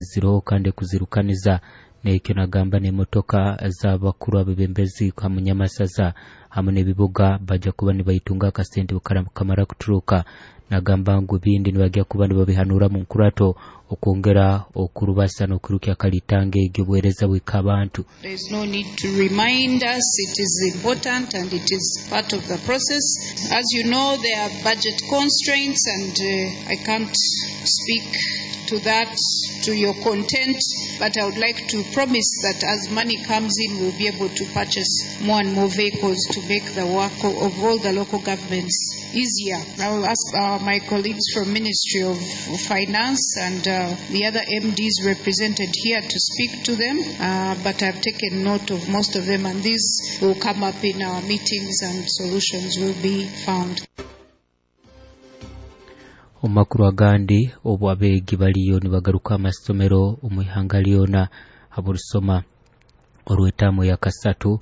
Ziroho kandi kuzirukaniza nekyo nagamba n'emotoka z'abakuru abebembezi hamu nyamasaza hamu n'ebibuga bajja kuba nibaitunga akasente kamara kuturuka. Nagamba ngu ebindi nibajja kuba nibabihanura mu nkurato okwongera okurubasa n'okwirukya akalitanga egyo obuheereza bwika abantu. There is no need to remind us, it is important and it is part of the process. As you know, there are budget constraints and I can't speak to that to your content, but I would like to promise that as money comes in, we'll be able to purchase more and more vehicles to make the work of all the local governments easier. I will ask my colleagues from Ministry of Finance and the other MDs represented here to speak to them, but I've taken note of most of them, and these will come up in our meetings and solutions will be found. Omu agandi, obu abeegi baliyo nibagaruka amasomero omu ihanga lyona haburusoma orw'etaamu ya kasatu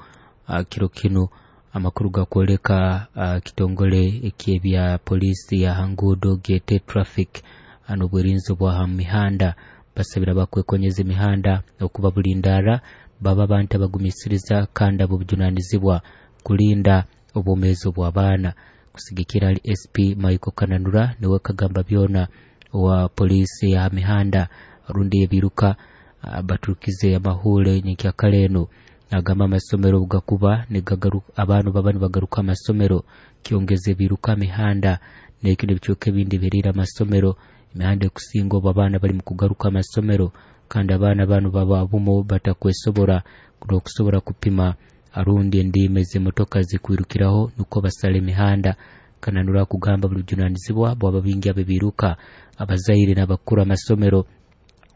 kiro kinu, amakuru gakwoleka kitongole ekyebya poliisi ya hanguudo gyete traffic n'obwerinzi bwa ha mihanda basabira bakwekonyeza emihanda okuba bulindaara baba abantu abagumisiriza kandi ab'obujunanizibwa kulinda obwomeezi bw'abaana. Kusigikira ali SP Michael Kananura niwe kagamba byona wa poliisi ya mihanda rundi ebiruka baturukize amahule nyenkyakara eno. Nagamba amasomero gakuba abantu baba nibagaruka amasomero kyongeza ebiruka mihanda n'ekindi ebicweka ebindi biriira amasomero emihanda ekusinga obu abaana bali mu kugaruka amasomero kandi abaana banu baba bumo batakwesobora n'okusobora kupima arundi endiima ez'emotoka zikwirukiraho nukwo basala emihanda. Kananura kugamba buli bujunanizibwa bwaba bingi abebiruka abazaire n'abakuru amasomero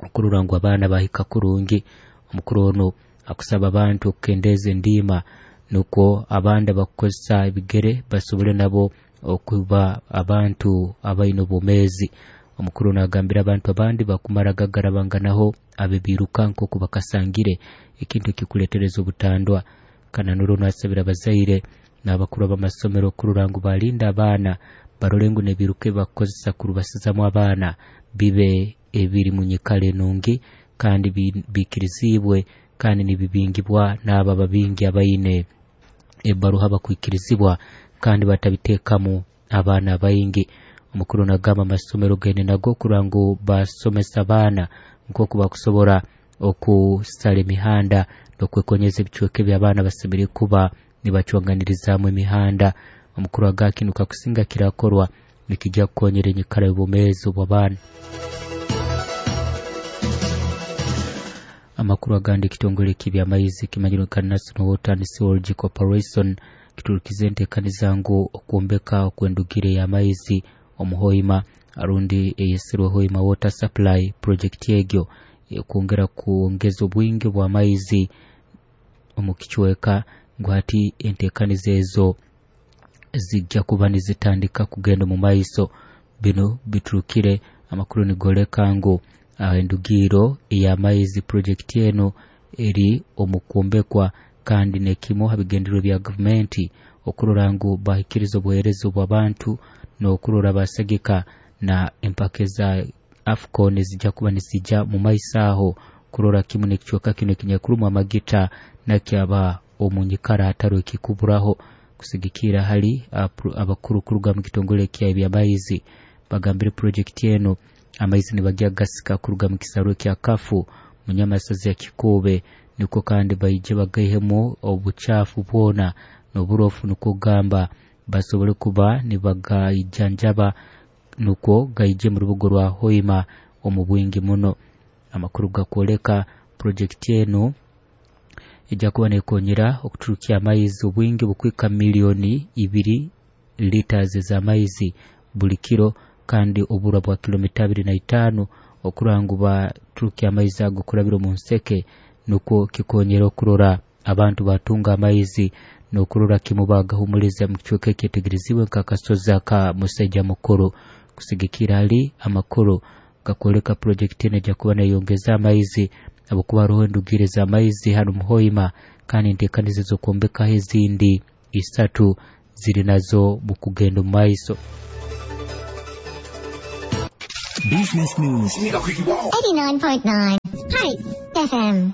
okurora ngu abaana bahika kurungi. Omukuru ono akusaba abantu okukendeeza endiima nukwo abandi abakukozesa ebigere basobole nabo okuba abantu abaine obwomeezi. Omukuru nagambira abantu abandi bakumara gagarabanganaho abebiruka nk'oku bakasangire ekintu ekikuleetereza obutandwa. Kananura ono asabira abazaire n'abakuru b'amasomero kurora ngu balinda abaana barole ngu n'ebiruka ebibakukozesa kurubasizamu abaana bibe ebiri mu nyikara enungi kandi bikirizibwe kandi nibibingibwa n'abo ababingi abaine ebaruha bakwikirizibwa kandi batabiteekamu abaana baingi. Omukuru nagamba amasomero gaine nago kurora ngu basomesa abaana nk'oku bakusobora okusala emihanda n'okwekonyeza ebicweka eby'abaana basemeriire kuba nibacwanganirizaamu emihanda. Omukuru aga kinu kakusinga kirakorwa nikijja kukonyera enyikara y'obwomeezi obw'abaana. Amakuru agandi, ekitongole eky'ebyamaizi kimanyirwe nka National Water and Sewerage Corporation kiturukize enteekaniza ngu okwombeka okw'endugire y'amaizi omu Hoima arundi eyesirwe Hoima Water Supply Project egyo kwongera kwongeza obwingi bw'amaizi omu kicweka ngu hati enteekaniza ezo zijja kuba nizitandika kugenda omu maiso. Bino biturukire amakuru nigoleka ngu endugiro ey'amaizi project eno eri omu kwombekwa kandi nekimu ha bigendererwa bya gavumenti okurora ngu bahikiriza obuheereza obw'abantu n'okurora basagika na empaka eza AFCON ezijja kuba nizija mu maiso aho kurora kimu n'ekicweka kinu ekinyakurumu amagita nakyaba omu nyikara hataro ekikuburaho. Kusigikira hali abakuru kuruga mu kitongole kya ebyamaizi bagambire project eno amaizi nibagya gasika kuruga mu kisarwe kya Kafu munyamasazi ya Kikube niko kandi baije bagaihemu obuchafu bwona n'oburofu nukwo gamba basobole kuba nibagaijanjaba nukwo gaije mu rubugo rwa Hoima omu bwingi muno. Amakuru gakwoleka project eno ejja kuba nekonyera okuturukya amaizi obwingi bukwika 2 million liters ez'amaizi buli kiro kandi oburwa bwa kilomita 25 okurora ngu baturukya amaizi ago kurabira omu nseke nukwo kikonyera okurora abantu batunga amaizi n'okurora kimu bagahumuliza mu kicweka ekyetegerezibwe nk'akasozi aka Musaija Mukuru. Kusigikira hali amakuru gakwoleka project eno ejja kuba neyongeza amaizi habwokuba haroho endugire z'amaizi hano mu Hoima kandi enteekaniza ez'okwombekaho ezindi 3 ziri nazo mu kugenda omu maiso. Business News. 89.9. Spice FM.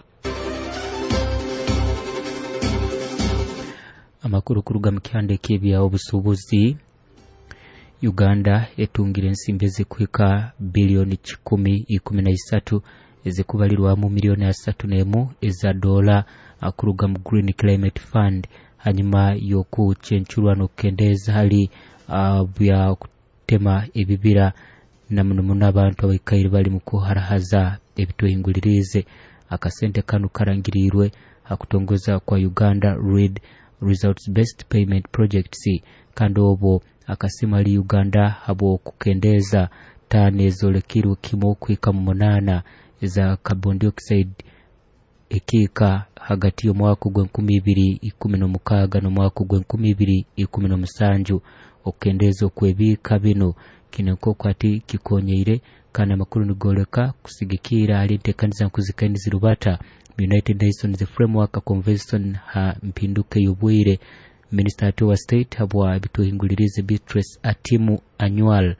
Amakuru kuruga mu kihanda eky'ebya obusuubuzi. Uganda etungire ensimbi ezikuhika biliyoni 113 ezikubalirwamu miliyoni 31 eza dola kuruga mu Green Climate Fund hanyuma y'okucencurwa n'okukendeeza hali bya kutema ebibira na muno muno abantu abaikaire bali mu kuharahaza ebitwehingulirize. Akasente kanu karangirirwe hakutongoza kwa Uganda Read Results Based Payment Projects, kandi obwo akasima ali Uganda habw'okukendeza tani ezolekirwe kimu kuhika mu 8 eza carbon dioxide ekiika hagati y'omwaka ogw'2016 n'omwaka ogw'2017. Okukendeza okw'ebiika bino kino nk'oku ati kikonyeire, kandi amakuru nigoleka kusigikira hali enteekaniza nkuzikaini zirubata United Nations Framework Convention ha mpinduka y'obwire. Minister ati wa State habwa ebituhingulirize Beatrice Atimu Anywal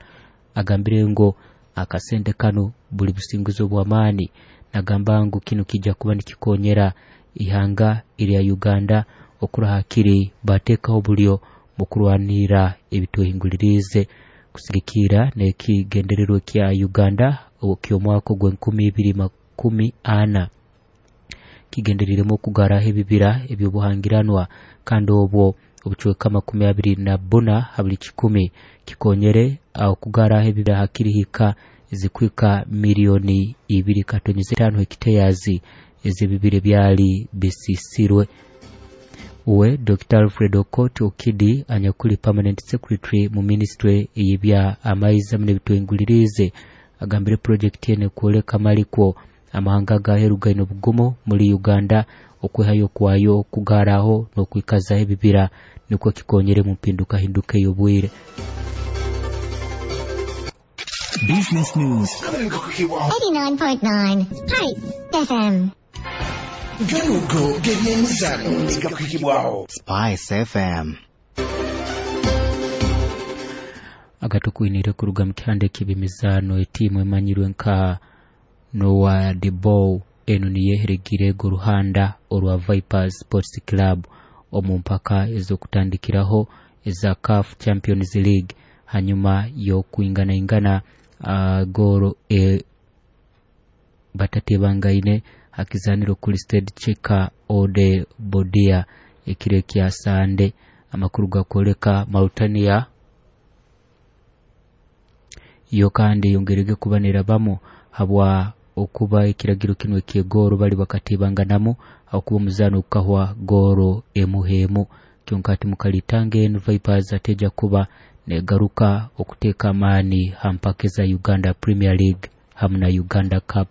agambire ngo akasente kano buli businguzi obw'amaani, nagamba ngu kino kijja kuba nikikonyera ihanga erya Uganda okurahakiri bateekaho bulyo mu kurwanira ebituhingulirize kusigikira n'ekigendererwa kya Uganda ky'omwaka ogw'2040 kigenderiremu okugaraho ebibira eby'obuhangiranwa, kandi obwo obucweka 24 ha buli 1 kikonyere okugaraho ebibira hakirihika ezikuhika miliyoni 2.5 hekitayazi ez'ebibira byali bisisirwe. Uwe Dr. Alfred Okot Okidi anyakuli permanent secretary mu ministry ey'ebya amaizi hamwe n'ebitwengulirize agambire project ene kwoleka malikwo amahanga gaheru gaine obugumu muri Uganda okwehayo kwayo okugaraho n'okwikazaho ebibira nikwo kikonyere mu mpinduka hinduka ey'obwire. Business News 89.9 Spice FM. Garugo g'ebyemizano negakuhibwaho Spice FM. Agatukwinire kuruga mu kihanda eky'ebyemizano, etiimu emanyirwe nka Noah Debow eno niyeheregire goruhanda orwa Vipers Sports Club omu mpaka ez'okutandikiraho eza CAF Champions League hanyuma y'okwinganaingana goro batatebangaine hakizaniro kuri Stade Cheka Ode Bodia ekiro kya Sande. Amakuru gakoleka Mauritania yo kandi yongerege kubanira bamu habwa okuba ekiragiro kino ekyegoro bali bakatibanganamu akuba omuzano okukahwa goro emuhemu. Kyonkati mukalitange eno Vipers ateja kuba negaruka okuteeka amaani ha mpaka za Uganda Premier League hamu na Uganda Cup.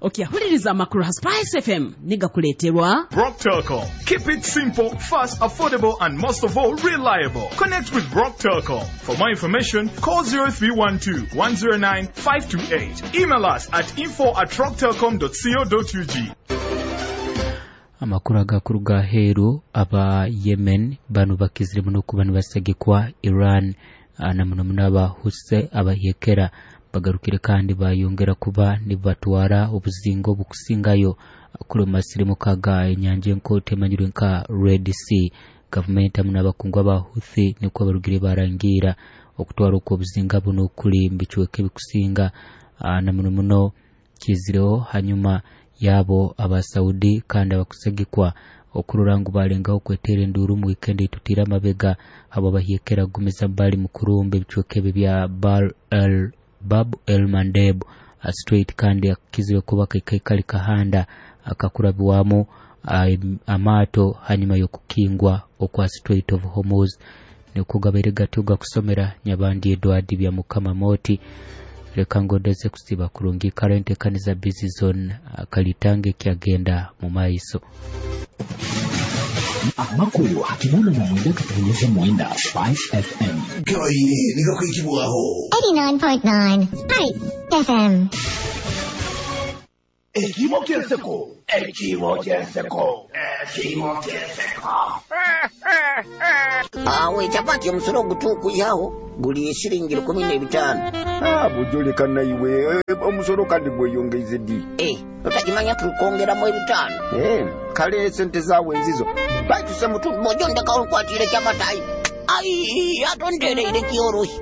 Okyahuliriza amakuru ha Spice FM nigakuleeterwa Brock Telcom. Keep it simple, fast, affordable, and most of all, reliable. Connect with Brock Telcom. For more information, call 0312 109 528. Email us at info@rocktelcom.co.ug. Amakuru agakuruga heru aba Yemen bano bakizire muno kuba nibasagikwa Iran na muno muno aba Huse abahyekera bagarukire kandi bayongera kuba nibatwara obuzingo obukusingayo kuri masirimu kaga enyanja enkoto emanyirwe nka Red Sea. Gavumenti hamwe n'abakungu aba Houthi nikwo barugire barangira okutwara okwo obuzinga buno kuri mu bicweka ebikusinga na muno muno kizireho hanyuma yabo aba Saudi kandi abakusagikwa okurora ngu balengaho kwetera enduru mu weekend etutira amabega abo bahyekera gumiza bali mu kurumba ebicweka ebi bya Bab el Mandeb Strait, kandi akizire kuba kaikali kahanda akakurabiwamu amaato hanyuma y'okukingwa okwa Strait of Hormuz. Nikugabaire gatyo gakusomera Nyabandi Edward bya Mukama Moti. Leka ngodeze kusiba kurungi current ekaniza busy zone kalitange kyagenda mu maiso. Amakuru hakimuna na mwenda katuonyesha mwenda Spice FM. Gabaire negakuhibwaho 89.9 Spice FM. Ekimo ky'enseko, ekimo ky'enseko, ekimo ky'enseko. Awe chapati omusolo ogutuukuyawo Guli siringi 15. Ah, bujoleka naiwe omusolo kandi gweyongeize ddi? Otakimanya tukongeramu 5. Kale sente zaawe nzizo. Baitu semutundu bojo ndekawo nkwatire kyamatayi. Ai, atondereire kyorohi.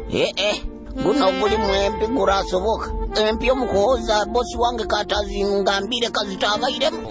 Guno gulimu empi gurasoboka. Empi omukuhoza bosi wange katazi ngambire kazitabairemu.